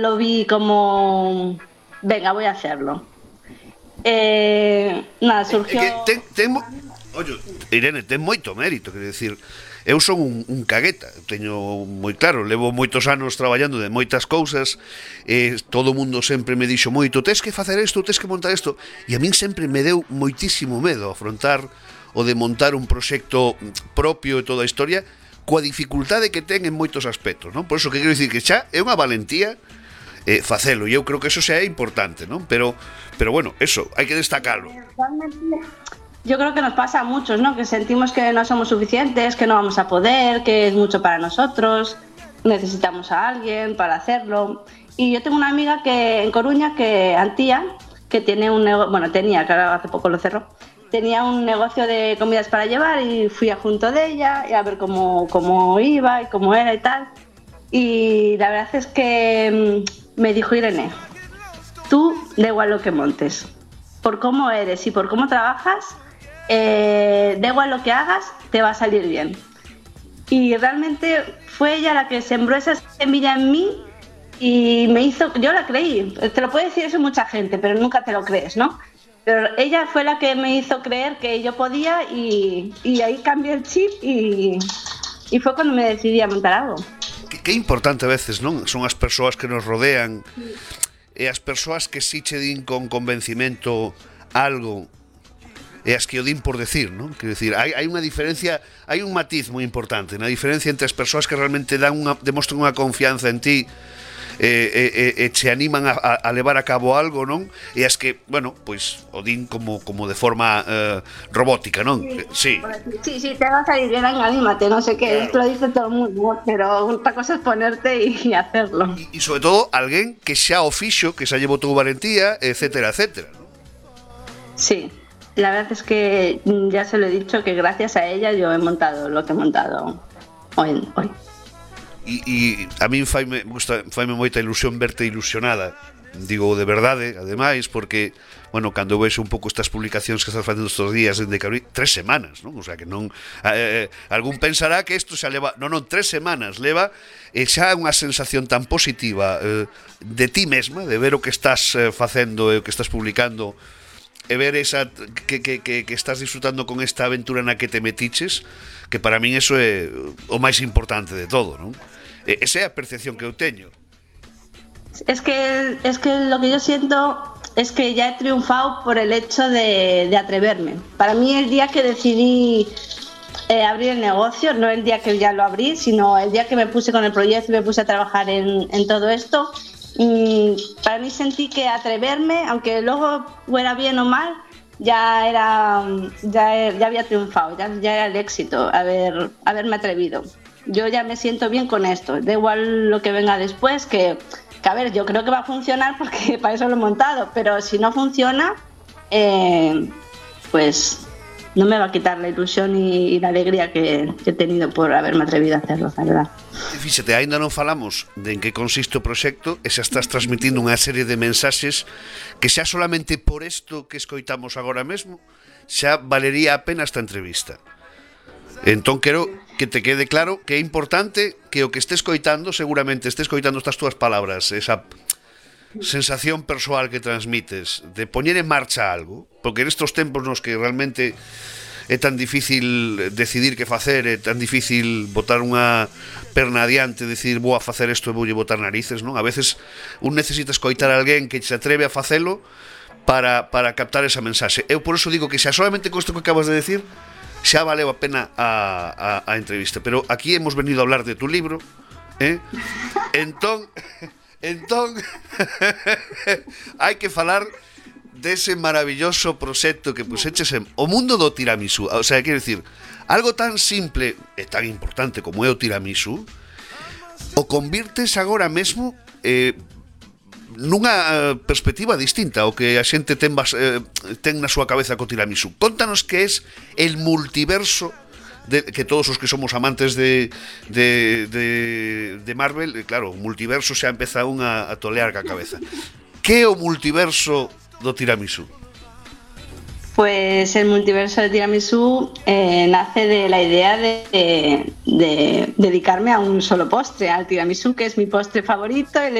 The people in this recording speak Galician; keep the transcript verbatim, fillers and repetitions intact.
lo vi como, venga, voy a hacerlo. Eh, nada, surgió... É que ten, ten, ollo, Irene, ten moito mérito, quero dicir, eu son un, un cagueta, teño moi claro, levo moitos anos traballando de moitas cousas, e todo o mundo sempre me dixo moito, tes que facer isto, tes que montar isto, e a min sempre me deu moitísimo medo afrontar o de montar un proxecto propio e toda a historia, coa dificultade que ten en moitos aspectos, non? Por iso que quero dicir que xa é unha valentía eh, facelo, e eu creo que eso xa é importante, non? Pero, pero bueno, eso, hai que destacalo. Yo creo que nos pasa a muchos, ¿no? Que sentimos que no somos suficientes, que no vamos a poder, que es mucho para nosotros, necesitamos a alguien para hacerlo. Y yo tengo una amiga que en Coruña, que Antía, que tiene un negocio, bueno, tenía, claro, hace poco lo cerró, tenía un negocio de comidas para llevar y fui a junto de ella y a ver cómo, cómo iba y cómo era y tal. Y la verdad es que me dijo, Irene, tú da igual lo que montes, por cómo eres y por cómo trabajas, eh, da igual lo que hagas, te va a salir bien. Y realmente fue ella la que sembró esa semilla en mí y me hizo, yo la creí, te lo puede decir eso mucha gente, pero nunca te lo crees, ¿no? Pero ella fue la que me hizo creer que yo podía y, y ahí cambié el chip y, y fue cuando me decidí a montar algo. Que, que importante a veces, non? Son as persoas que nos rodean e as persoas que si che din con convencimento algo e as que o din por decir, non? Quero dicir, hai, hai unha diferencia, hai un matiz moi importante na diferencia entre as persoas que realmente dan unha, demostran unha confianza en ti e, e, e che animan a, a levar a cabo algo, non? E as que, bueno, pois o din como, como de forma eh, robótica, non? Sí, sí, sí, te va a salir bien, anímate, no sé qué, esto lo dice todo el mundo, pero otra cosa es ponerte y, y hacerlo. E sobre todo, alguén que xa o fixo, que xa llevou tu valentía, etcétera, etcétera, ¿no? Sí, la verdad es que ya se lo he dicho que gracias a ella yo he montado lo que he montado hoy. hoy. E, e a min faime, gusta, faime moita ilusión verte ilusionada, digo de verdade, ademais, porque, bueno, cando vexo un pouco estas publicacións que estás facendo estes días dende que abrí, tres semanas, non? O sea, que non... Eh, algún pensará que isto xa leva... Non, non, tres semanas leva, e xa unha sensación tan positiva eh, de ti mesma, de ver o que estás eh, facendo e o que estás publicando, e ver esa que, que, que, que estás disfrutando con esta aventura na que te metiches, que para min eso é o máis importante de todo, non? Esa é a percepción que eu teño. Es que, es que lo que yo siento es que ya he triunfado por el hecho de, de atreverme. Para mí el día que decidí eh, abrir el negocio, no el día que ya lo abrí, sino el día que me puse con el proyecto y me puse a trabajar en, en todo esto, y para mí sentí que atreverme, aunque luego fuera bien o mal, ya era ya, ya había triunfado, ya, ya era el éxito haber, haberme atrevido. Yo ya me siento bien con esto, da igual lo que venga después, que, que a ver, yo creo que va a funcionar porque para eso lo he montado, pero si no funciona, eh, pues no me va a quitar la ilusión y, y la alegría que, que he tenido por haberme atrevido a hacerlo, la verdad. Fíxate, ainda non falamos de en que consiste o proxecto e xa estás transmitindo unha serie de mensaxes que xa solamente por isto que escoitamos agora mesmo xa valería a pena esta entrevista. Entón quero que te quede claro que é importante que o que estés coitando, seguramente estés coitando estas túas palabras, esa sensación persoal que transmites de poñer en marcha algo, porque nestos tempos nos que realmente é tan difícil decidir que facer, é tan difícil botar unha perna adiante, decidir vou a facer isto e voulle botar narices, non? A veces un necesita escoitar a alguén que se atreve a facelo para, para captar esa mensaxe. Eu por eso digo que xa solamente con isto que acabas de decir xa valeu a pena a, a, a entrevista, pero aquí hemos venido a hablar de tu libro, eh? entón entón hai que falar dese maravilloso proxecto que puxeches en o mundo do tiramisú. O sea, quero dicir, algo tan simple e tan importante como é o tiramisú, o convirtes agora mesmo eh, nunha perspectiva distinta ao que a xente ten, bas, eh, ten na súa cabeza co tiramisú. Contanos que é el multiverso de, que todos os que somos amantes de, de, de, de Marvel, claro, o multiverso xa empeza un a, a tolear ca cabeza. Que é o multiverso do tiramisú? Pues el multiverso de tiramisú eh, nace de la idea de, de, de dedicarme a un solo postre, al tiramisú, que es mi postre favorito, el